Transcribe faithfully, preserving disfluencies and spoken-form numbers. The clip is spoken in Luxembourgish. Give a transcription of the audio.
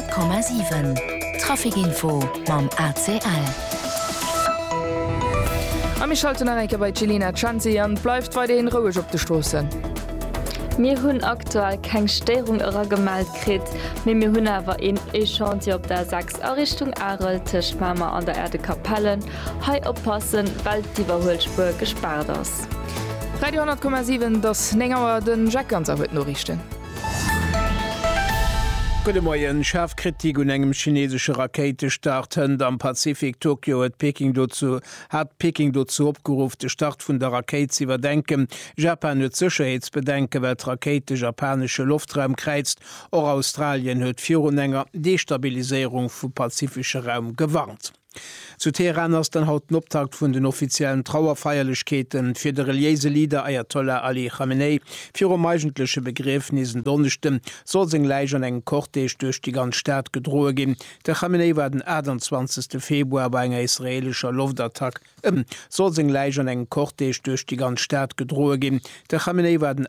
Honnert Komma siwen, Trafic Info mam A C L. A mir schalten nach eng Kéier bei d'Jelina Chanzi an bleift weiderhin roueg op de Stroossen. Mir hunn aktuell keng Stéierung eragemellt kritt, mee mir hunn awer een Chantier op der A sechs a Richtung Arel tëscht Mamer an der Aire de Capellen. Hei oppassen, well d'Iwwerhuelspuer gespaart ass. Radio honnert Komma siwen, et ass néng Auer, de Jacques Ganser huet d'Noriichten. Gudde Moien. Schaarf Kritik un engem chinesesche Rakéitestart hënt am Pazifik. Tokio huet Peking dozou hat Peking dozou opgeruff, de Start vun der Rakéit ze iwwerdenken. Japan huet Sécherheetsbedenken, well d'Rakéit de japanesche Loftraum kräizt. Och Australien huet virun enger Destabiliséierung vum pazifesche Raum gewarnt. Zu Teheran ass dann haut den Optakt vun den offiziellen Trauerfeierlechkeete fir de reliéise Leader Ayatollah Ali Khamenei. Virum eigentleche Begriefnis en Donneschde soll seng Läich an engem Cortège duerch déi ganz Stad gedroe ginn. De Khamenei war den achtundzwanzegste Februar bei enger israeelescher Loftattack ëm soll seng Läich an engem Cortège duerch déi ganz Stad gedroe ginn. De Khamenei war den